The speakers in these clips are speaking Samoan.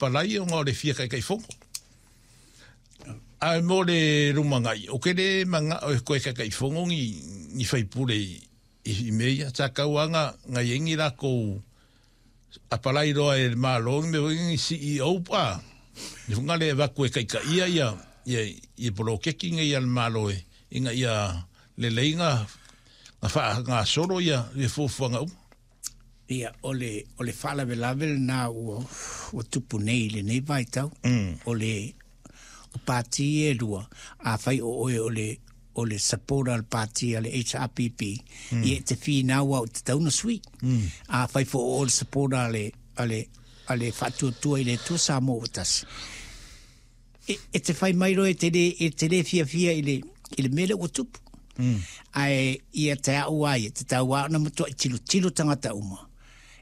Palai ona o le fia taitaifono. Ae mo le lumanai, ou te le manao e toe taitaifono ni, ni faipule i, i mea ia. Sa tau lava na, na i ai ni latou apalai loa e le Malo ni mea foi ni CEO pa, ni foi le avatu e taitaia ia, ia, ia poloketi nei a le Malo e, ina ia lelei na, na faagasolo ia, ia fuafuaga uma. Ia, o le, o le faalavelave lena ua, ua tupu nei i lenei vaitau. Mm. O le o pāti e lua, afai o oe o le, o le supporter o le pāti a le HRPP, mm. ia e te whinau au te tauna sui. Mm. Afai fo o le supporter a le, a le, a le whaatuatua i le Atua Samoa ua tasi. E, e te whai mai roe e te le, e te le fiafia i le, i le mea lea ua tupu. Mm. Ae ia te au ai, te tau a ona matua i tilotilo tangata uma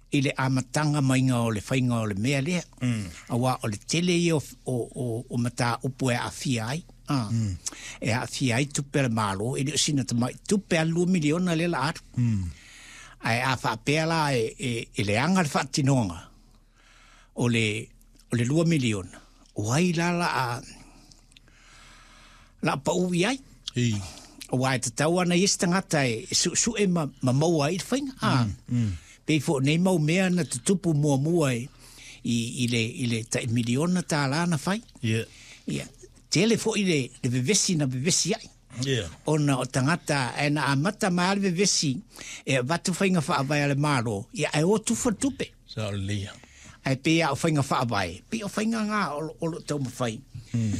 i le amataga maiga o le faiga o le mea lea. Mm. Auā o le tele ia o, o, o, o mataupu e aafia ai. Ah. Mm. E aafia ai tupe a le Malo, e le o sina tamai tupe a le 2 miliona lea la alu. Mm. Ae a faapea la e, e, e leaga le faatinoga, o le, o le 2 miliona, o ai la la a, la pau i ai? I. Aua e tatau ana i isi tagata e, e su'esu'e ma, ma maua ai le faiga. A, mm, mm. Pei foi o nei mau mea na tutupu muamua e, i, i le, i le tai miliona tālā na fai. Yeah. Ia, tele foi le, le vevesi na vevesi ai. Yeah. Ona o tagata ae na amata mai lava le vevesi e avatu faiga faavae a le Malo, ia ae o tufa le tupe. Sao lelei ia. Ae pei lava o faiga faavae, pei o faiga na o, o lo o taumafai. Mm.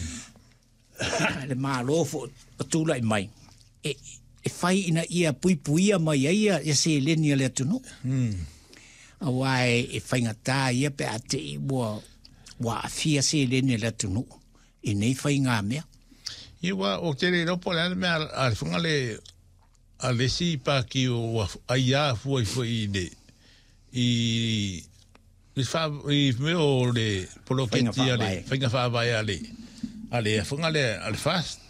le Malo foi o tulai mai, e, e fai ina ia puipuia mai ai ia, ia seleni a le atunuu. Mm. Aua e, e faigata ia pe a te i ua, ua aafia seleni a le atunuu i nei faigamea. Ia ua o te le iloa po o le a le mea a le whanga le a le isi pāti o ai a fua i foi i le i i wha i mea o le poloketi a le whainga whaavae a le a le whanga le a le fast.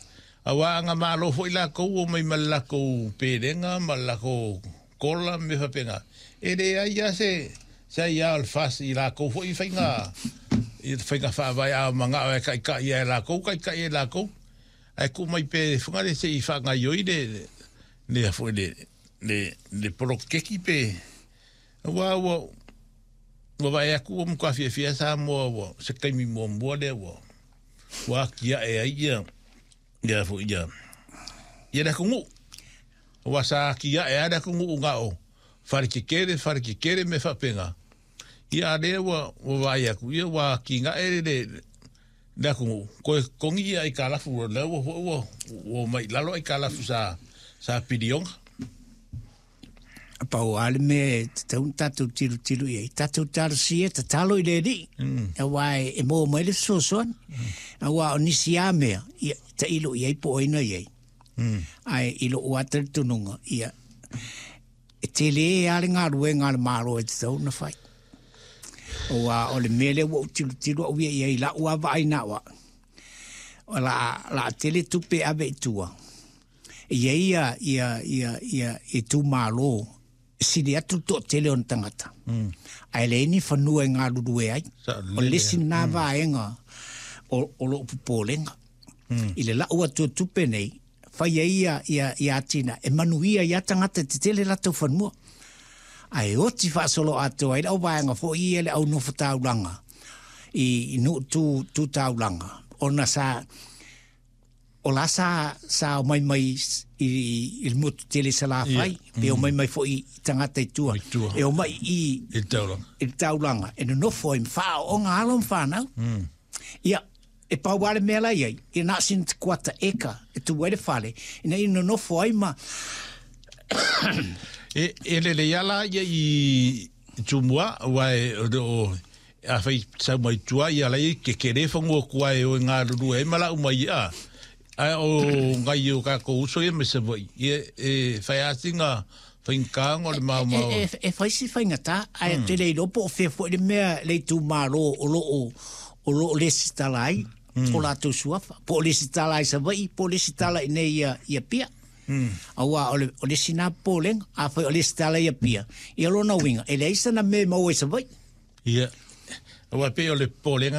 Aua anga malo foi lakou o mai ma le lakou pelega ma le lakou kola ma mea faapena. E leai lava se se aia o le FAST i lakou foi faiga i faiga faavae a manao e taitai ia e lakou, taitai e lakou. Ae tuu mai pea i le whangare se i whaangaioi le le foi le le le poloketi pe aua ua ua vaai atu ua matua fiafia Samoa ua se taimi muamua lea ua ua atiae ai ia ia foi ia ia le atunuu. Aua sa atiae lava le atunuu na o fale tetele, fale tetele mea faapena. Ia a lea ua ua vaai atu ia ua atinae le le atunuu, toe totogi ia aitalafu o lea ua foi ua ua omai i lalo aitalafu sa sa piliona. Pau lava le mea e tatau ona tatou tilotilo i ai, tatou talosia, tatalo i le Alii, aua e maua mai le fesoasoani. Aua o nisi lava mea, ia, tailo i ai po o ai na i ai. Ae i lou lava talitonuga, ia, e tele lava le galuega a le Malo e tatau ona fai. Aua o le mea lea ua ou tilotilo au ia i ai i lau lava vaai na o au, o le a, o le a tele tupe e ave i tua, E i ai ia, ia, ia, ia itumalo e sili atu le toatele o ona tagata, mm. ae leai ni fanua e galulue ai. O le isi lena mm. vaega o, o lou popolega. Mm. I le lau atu o tupe nei, fai ai ia, ia, ia atinae, e manuia ai tagata e tetele latou fanua. Ae oti faasoloatoa ai le au vaega foi ia le au nofo taulaga i, i nuu tu, tu taulaga, ona sa, O la sa, sa omai mai i, i le motu tele i Salafai, yeah. pe omai mai foi i tagata i tua. I tua. E omai i, I le taulaga. I le taulaga, e nonofo ai ma whaaoga alo ma whanau. Mm. Ia, e pau lava le mea la i ai, ia na o sina kuata eka e tu ai le fale, ina ia nonofo ai ma... E, e lelei lava la ia i Tumua, aua e, o, Afai sau mai tua ia lai ke kele whanua kua e oe ngalulu ai ma lau mai a. Ae o ngai o kakou uso ia me Savaii ia e whai ati nga whainga o le maomao. E, e, e whai si whaingata, ae mm. te le iloa po o whea foi le mea le itumalo o lo o, o lo o lesitala ai, mm. o latou suafa. Po o lesitala ai Savaii, po o lesitala i nei ia, ia Apia. Mm. Aua o le, o le isi na popolega, afai o lesitala i Apia, ia lona uiga, e leai sana mea e maua i Savaii. Ia. Aua pei o le popolega.